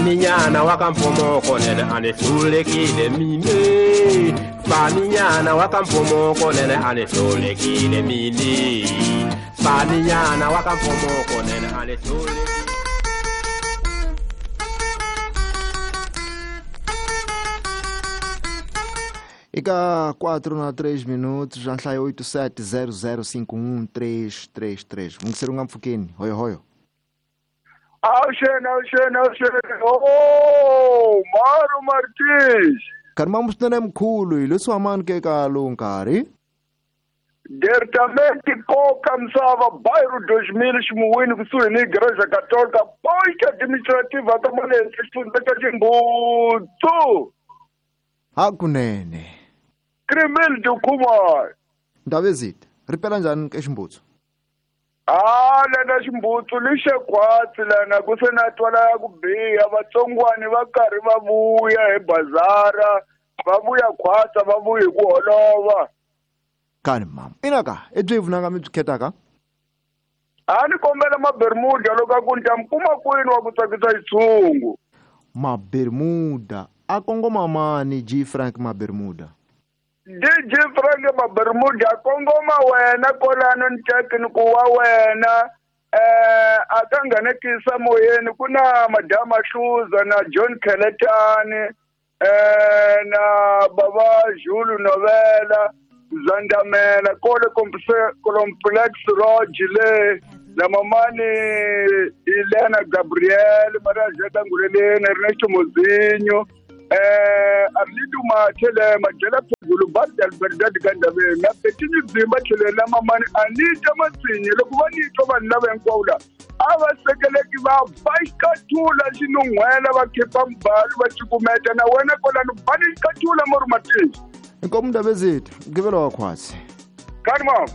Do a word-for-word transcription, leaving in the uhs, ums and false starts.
Faninyana wakampomoko nene anihlulekile mine. Faninyana wakampomoko nene anihlulekile mine. Faninyana wakampomoko nene anihlulekile. Ika quatro na três minutos, já nhlayo oito sete zero zero cinco um três três três. Mungiseri nga mpfukeni, hoyo hoyo. Awuxeni, awuxeni, awuxeni. Oh, Maru Martins. Karima musitene mkhulu, hileswi amani ke ka lowu nkarhi. Diretamente koka misava bairro dois mil ximuwini kusuhi ni Igreja Católica, posto administrativa ka Malense, xifundza xa Ximbutsu. Hakunene. Crimil de Kumar. Ndabezitha, ripela njhani ke Ximbutsu? Ah, lana Ximbutsu lixe khwatsi lana ku se na twala ya ku biha, vatsongwani va karhi va vuya hi bazara, va vuya khwatsa, va vuya hi ku holova. Kani mama, ina ka, i byi vunanga mi byi khetaka? A ni kombela mabermuda loko a ku ni ta mi kuma kwini wa ku tsakisa xitshungu. Mabermuda a kongoma mani G Frank Mabermuda? D J Frank Mabermuda a kongoma wena kolano ni teki ni ku wa wena eh a ka nghenekisa moyeni ku na Madama Hluza na John Kheletani eh na Baba Julu Novela Zandamela kole complex Roge le na mamani Elena Gabriel Maria Jeta Nguleleni Ernesto Mozinho eh Arlindo Mathele Majela Phezulu Badal Berdad Kandabeni na Petini Dzimba tlhelo la mamani Anita Matsinye loko va ni twa vanhu lava hinkwavo la a va sekeleki va ba xikathula xinun'hwela va khipa mbalo va cukumeta na wena kolano bani xikathula Maru Martins. Inkomo Ndabezitha, mgqivelo wa khwatsi. Kani mama.